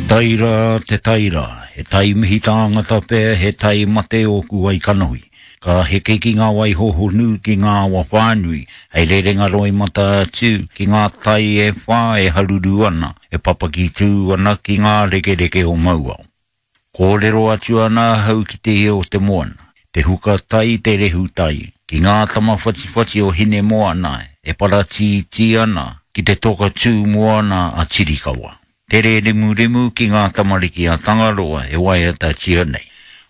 tai rā, te tai rā, he tai mihi tāngata pea, he tai mate ōku wai kanohi. Ka heke ki ngā wai hohonu, ki ngā awa whānui, hei rerenga roimata atu ki ngā tai e whā e haruru ana, e papaki tū ana ki ngā rekereke o Mauao. Kōrero atu ana ahau ki te ia o te moana, te huka tai, te rehu tai, ki ngā tama whatiwhati o Hinemoana e paratītī ana ki te toka tū moana a Tirikawa. Tere remuremu ki ngā tamariki a Tangaroa e waiatatia nei.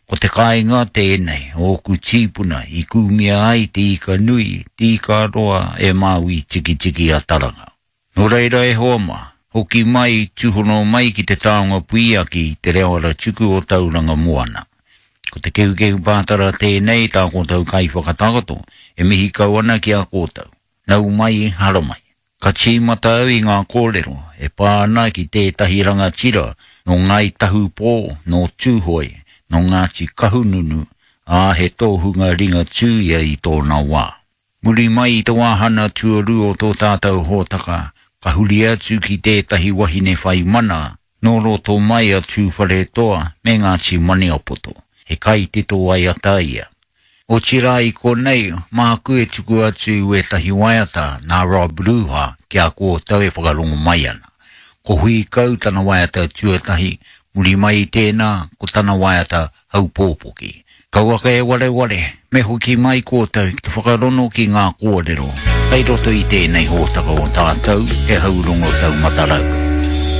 Ko te kāinga tēnei o ōku tīpuna i kūmia ai te ika nui, te ika roa e Māui Tikitiki a Taranga. Nō reira e hoa mā, hoki mai, tūhono mai ki te taonga puiaki, te reo aratuku o Tauranga Moana. Ko te kehukehu pātara tēnei tā koutou kaiwhakatakoto e mihi kau ana ki a koutou. Nau mai, haramai. Ka tīmata au i ngā kōrero e pā ana ki tētahi rangatira nō Ngāi Tahu Pō, nō Tūhoe, nō Ngāti Kahungunu, ā, he tōhunga Ringatū ia i tōna wā. Muri mai i te wāhana tuarua o tō tātou hōtaka, ka huri atu ki tētahi wahine whai mana nō roto mai a Tūwharetoa me Ngāti Maniapoto, he kaitito waiata ia. Otirā i konei, māku e tuku atu i wētahi waiata nā Rob Ruha ki a koutou e whakarongo mai ana. Ko Hui Kau tana waiata tuatahi, muri mai i tēnā, ko tana waiata Haupōpoki. Kauaka e wareware, me hoki mai koutou ki te whakarono ki ngā kōrero kei roto i tēnei hōtaka o tātou, He Haurongo Taumata Rau.